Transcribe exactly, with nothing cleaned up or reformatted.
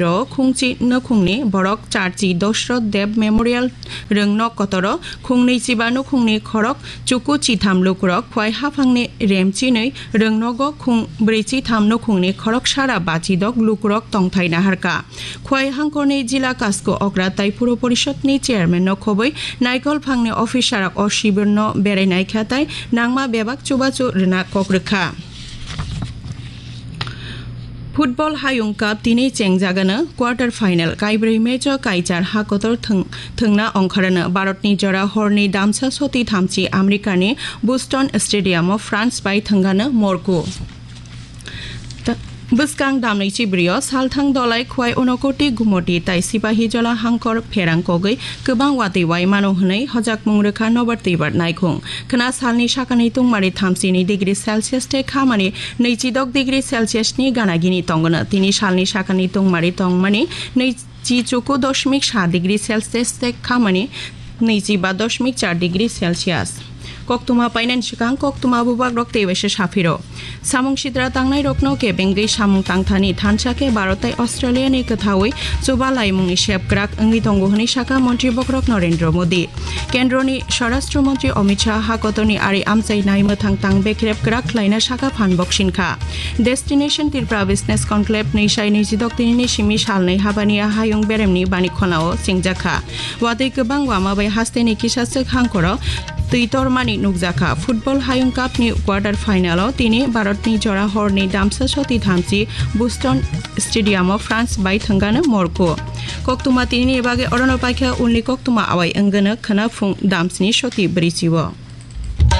Ro khungchi nukhungni borok charchi Dosroth Deb Memorial rwngnok kotoro khungnwi chiba nukhungni khorok chuku chitham lukurok khwai haphangni remchinwi rwngnogo khung brwi chitham nukhungni khorok sara bachidok lukurok tongthai naharka. Khwai hangkorni jila kasku okra tai puro porishotni chairman no khobwi naikol phangni officer rok o shibirno berai naikha tai nangma bebak chubachu rwna kok rwkha. Football Hayung Cup tini chengjagano quarter final kaibrwi match o kaichar hakotor thwng-, thwngna ongkharano Bharatni jora horni damsa soti thamchi Americani Boston Stadium o France bai thwngano morku. Ta-, bwskang damni chibrio salthang dolai khwai unokoti gumoti tai sipahi jola hangkor pherang kogwi kwbang watwi wai mano hwnwi hojakmung rwkha nobar twibar naikhung. Khwna salni sakani tungmari thamchini degree Celsius tei khamani nwichidok degree Celsius ni gana gini tongwno. Tini salni sakani tungmari tongmani nwichi chuku dosmik sa degree Celsius tei khamani nwichi ba dosmik char degree Celsius. Koktuma painani swkang koktuma bubagrok tei waisa saphiro. Samung sidra tangnairokno kebengwi samung tangthani thansa khe Bharat tei Australia ni kwthaui chuba laimungni sep kwrak wngwi tongo hwnwi sakha Montri Bokrok Narendra Modi. Kendroni Swarashtra Montri Amit Shah hakotorni ari amchai nai mwthang tang bekrep kwrak khlaina sakha phan boksing kha. Destination Tripura Business Conclave nwi sai nwi chidok tinini simi salnwi habani hayung beremni bani khonao chengjakha. Watwi kwbang wama bai hasteni kisa swk hangkoro twi tormani nukjakha. Football Hayung Cup ni quarter final o tini Bharat ni jora horni damsa soti thamchi Boston Stadium o France bai thwngano morku. Koktuma tini ni bagwi orono paikha, ulni koktuma awai wngano khwna phung damsni soti brichi o.